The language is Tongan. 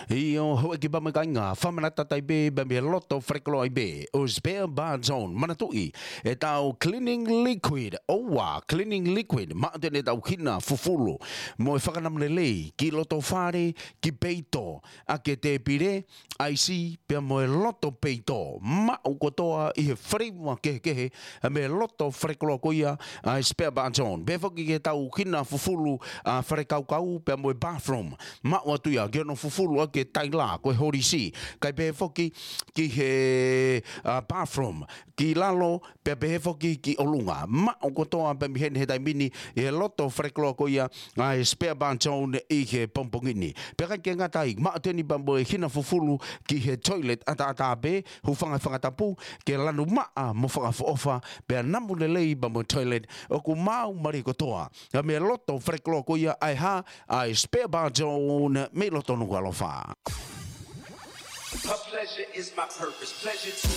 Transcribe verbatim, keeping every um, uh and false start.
ʻIo, houʻeiki pea mo e kāinga, fakamanatu atu ai pē mei he loto fale koloa ai pē ʻo e Spare Bar Zone. Manatuʻi ʻetau cleaning liquid, ʻoua, cleaning liquid, maʻu atu eni ʻetau hina fufulu mo e fakanamulelei ki loto fale, ki peito, ʻaki e tēpile, ʻaisi, pea mo e loto peito, maʻu kotoa ʻi he flavor kehekehe, mei he loto fale koloa ko ia ʻa e Spare Bar Zone. Pehē foki ki heʻetau hina fufulu ʻa e fale kaukau, pea mo e bathroom, maʻu atu ia ke ono fufulu ʻaki e taila, ko e holisi. Kae pehē foki ki he, ʻa, bathroom, ki lalo, pea pehē foki ki ʻolunga. Maʻu kotoa pē mei heni he taimi ni ʻi he loto fale koloa ko ia ʻa e Spare Bar Zone ʻi he pongipongi ni. Pea ʻikai ke ngata ai, maʻu atu eni pea mo e hina fufulu ki he toilet ʻataʻatā pē, hūfanga he fanga tapu, ke lanu maʻa mo fakaʻofoʻofa, pea namu lelei pea mo e toilet, ʻoku maau mālie kotoa. Ka mei he loto fale koloa ko ia ʻa e hā, ʻa e Spare Bar Zone mei loto Nukuʻalofa. Her pleasure is my purpose. Pleasure to